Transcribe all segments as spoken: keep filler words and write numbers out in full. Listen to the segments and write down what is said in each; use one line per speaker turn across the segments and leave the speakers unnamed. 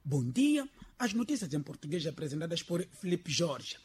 Bom dia. As notícias em português apresentadas por Felipe Jorge.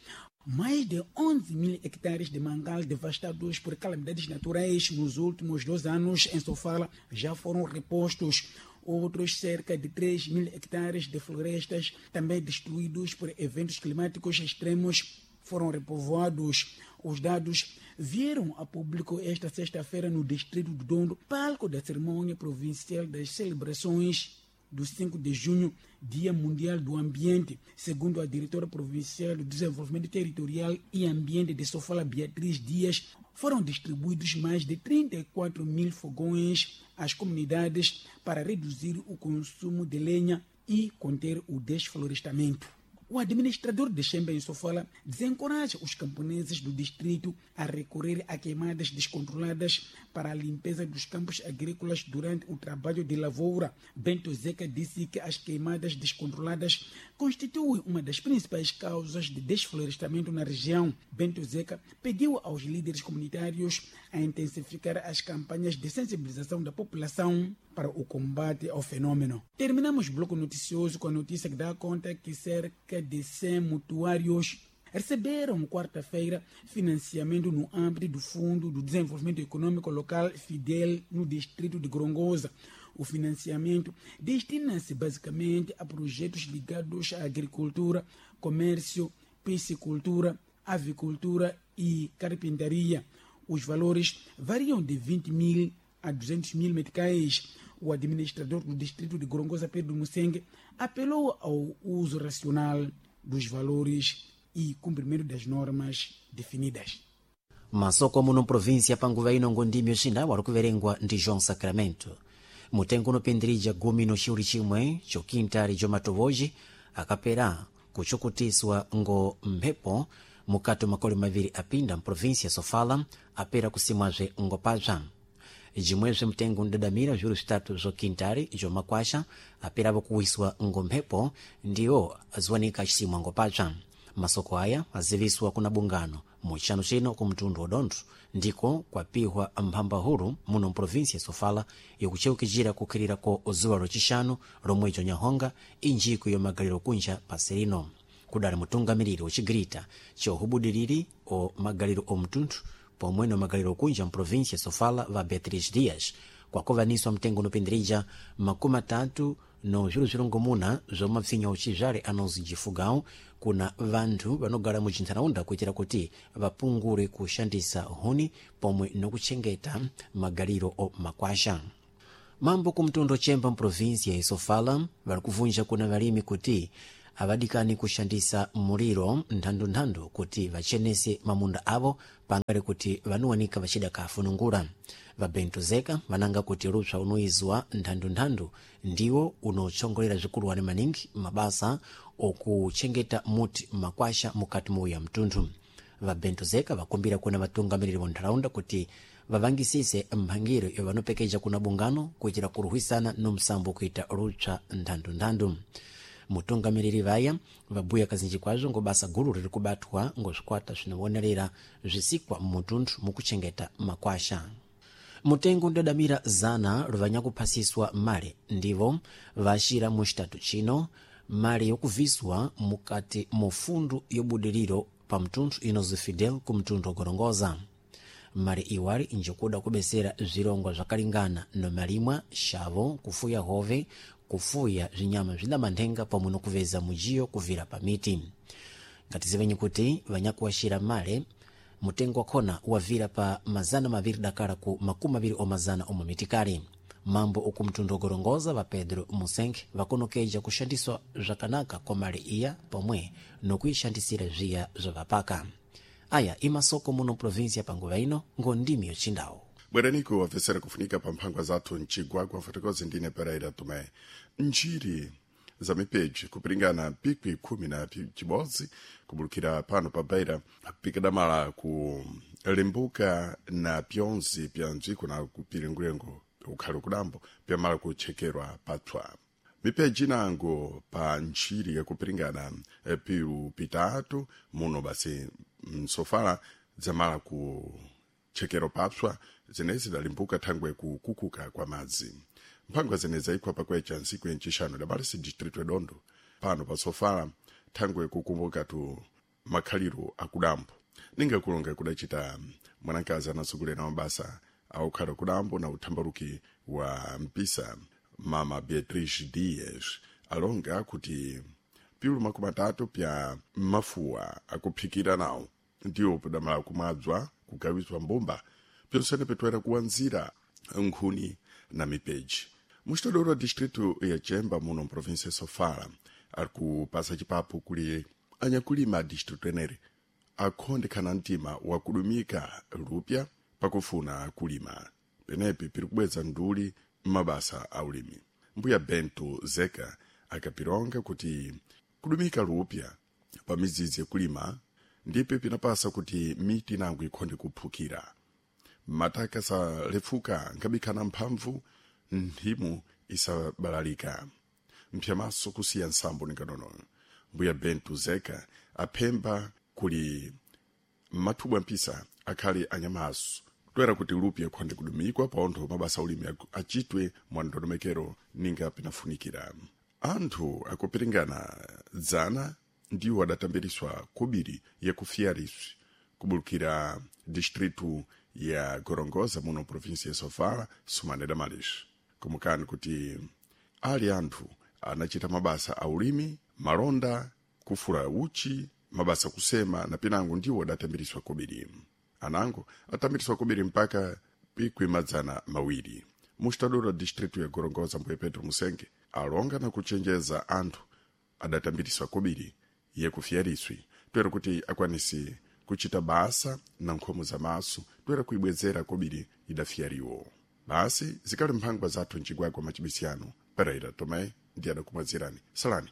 Mais de onze mil hectares de mangal devastados por calamidades naturais nos últimos dois anos em Sofala já foram repostos. Outros cerca de três mil hectares de florestas também destruídos por eventos climáticos extremos foram repovoados. Os dados vieram a público esta sexta-feira no distrito do Dondo, palco da cerimônia provincial das celebrações do cinco de junho, Dia Mundial do Ambiente. Segundo a diretora provincial do Desenvolvimento Territorial e Ambiente de Sofala, Beatriz Dias, foram distribuídos mais de trinta e quatro mil fogões às comunidades para reduzir o consumo de lenha e conter o desflorestamento. O administrador de Chemba em Sofala desencoraja os camponeses do distrito a recorrer a queimadas descontroladas para a limpeza dos campos agrícolas durante o trabalho de lavoura. Bento Zeca disse que as queimadas descontroladas constituem uma das principais causas de desflorestamento na região. Bento Zeca pediu aos líderes comunitários a intensificar as campanhas de sensibilização da população para o combate ao fenômeno. Terminamos o bloco noticioso com a notícia que dá conta que cerca de cem mutuários receberam quarta-feira financiamento no âmbito do Fundo do Desenvolvimento Econômico Local Fidel no distrito de Gorongosa. O financiamento destina-se basicamente a projetos ligados à agricultura, comércio, piscicultura, avicultura e carpintaria. Os valores variam de vinte mil a duzentos mil meticais. O administrador do distrito de Gorongosa, Pedro Mussengue, apelou ao uso racional dos valores e cumprimento das normas definidas.
Masoko muno província panguva ino ngondimi yoxina wari kuverengwa ndi João Sacramento. Mutengo unopindirija gumi no xiuri chimwe chokintali jomatovoji akapera kuchukutiswa ngo mphepo mukati makoli maviri apinda mprovíncia Sofala apera kusimwazve ngopabza. Jimwezve mtengo ndadamira zviuru zvitatu zvoquintari zvomakwasha aperavo kuwiswa ngomphepo ndiwo aziwanika acisimwa ngopabza. Masoko aya aziviswa kuna bungano muchano chino ku mtundu wa Dondo ndiko kwapihwa mphambahulu muno mprovinsia Sofala yokucheukijira kukhirira ko zuwa locixanu lomwejo nyahonga injiko yomagaliro kunja pasirino. Kudali mutungamiriri wocigirita cohubudiriri o magaliro o mtunthu pomwe no magaliro kunja mprovinsia Sofala va Beatriz Dias kwakovaniswa mtengo unopindirija makumi atatu no zviru zvirongomuna zvo mapsinya uchizvale anozijifugao kuna vanthu vanogara muchintharaunda kuitira kuti vapungure kushandisa huni pomwe nokuchengeta magaliro o makwasha. Mambo kumtundu chemba mprovinsia ya Sofala vari kuvunja kuna valimi kuti avadikani kushandisa muliro nthandunthandu kuti vachenese mamunda avo pangale kuti vanuwanika vacida kafunungura. Vabento Zeka vananga kuti lupsa unoizwa nthandunthandu ndiwo unotsongolera zvikuluwani maningi mabasa okuchengeta muti makwasha mukati muya mtunthu. Vabento Zeka vakumbira kuna vatungamiriri va ntharaunda kuti vavangisise mphangiro yovanopekeja kuna bungano kuitira kuruhwisana no msambo kuita lupsa nthandunthandu. Mutungamiriri vaya vabuya kazinji kwazvo ngo basa guru riri kubatwa ngo zvikwata zvinovonerera zvisikwa mmutunthu mukuchengeta makwasha. Mutengo ndadamira zana ruvanyakuphasiswa male ndivo vaxira muxitatu chino male yokuviswa mukati mufundu yobudiriro pa mtunthu inozi Fidel ku mtunthu wa Gorongosa. Mali iwali njikuda kubesera zvilongwa zvakalingana no malimwa xavo kufuya hove kufuya zvinyama zvina manthenga pomwe nokuveza mujiyo kuvira pa miti. Ngatizivenyi kuti vanyakuwaxira male mutengo wakhona wavira pa mazana maviri dakala ku makumi maviri omazana omwe mitikali. Mambo oku mtundu ogorongoza va Pedro Musenge vakonokeja kushandiswa zvakanaka kwa mali iya pomwe nokuixandisira zviya zvavapaka. Aya imasoko muno província panguva ino ngondimi yochindawo.
Bweraniko wafesera kufunika pa mphangwa zathu mcigwagwa fotokozi ndine Pereira Tomé. Njiri za mipeji kupiringana pikwi khumi na chibodzi kubulukira pano pa Beira pikadamala ku limbuka na pyonzi pya ndziko na kupiringulengo ukhali kudambo pyamala kuchekerwa patswa. Mipeji inango pa ntchiri yakupiringana pilu pitatu muno basi msofala dzamala ku chekero papswa zenezi dalimbuka thangwe kukukuka kwa madzi. Mphangwa zene zaikwa pakwecha ntsiku yencixanu dabalisi distrito edondo pano pa Sofala, thangwe kukumbuka tu makhaliro akudambo ninga kulonga kudacita mwanakazi anasogolera mabasa aukhala kudambo na uthambaluki wa mpisa, mama Beatrice Dias, alonga kuti piulu makumi atatu pya mafuwa akuphikira nawo ndiwo pidamala kumwadzwa kugawizwa mbumba pyonsene pitwera kuwanzira nkhuni na mipeji. Muxitodoro distrito ya Chemba muno mprovinsia ya Sofala ari kupasa chipapu kuli anyakulima a distrito eneri akhondekhana mtima wakudumika lupya pakufuna kulima, penepi piri kubweza nduli m'mabasa a ulimi. Mbuya Bento Zeka akapilonga kuti kudumika lupya pa midzidzi yakulima ndipe pinapasa kuti miti inango ikhonde kuphukira, mataka salefuka nkhabikhana mphamvu nthimu isabalalika mphyamaso kusiya nsambo ninganono. Mbuya Bento Zeka aphemba kuli mathubwa mpisa akhale anyamaso toera kuti lupya khonde kudumikwa paontho mabasa ulimi acitwe mwa ndondomekero ninga pinafunikira. Anthu akupiringana dzana ndiwo adatambiriswa kobiri yakufiyariswi kubulukira distritu ya Gorongosa muno provinsia ya Sofala sumane damalish kumukani kuti ali anthu anachita mabasa a ulimi, malonda, kufula uchi, mabasa kusema na pinango ndiwo adatambiriswa kobiri. Anango atambiriswa kobiri mpaka pikwi madzana mawiri. Mustadora distritu ya Gorongosa mbuye Petro Musenge alonga na kuchenjeza anthu adatambiriswa kobiri yekufiyariswi toera kuti akwanisi kuchita basa na nkhomo za maso toera kuibwezera kobiri idafiyariwo. Basi zikali mphangwa zathu mcigwagwa macibisiyano Pereira Tomé ndi adakumwazirani. Salani.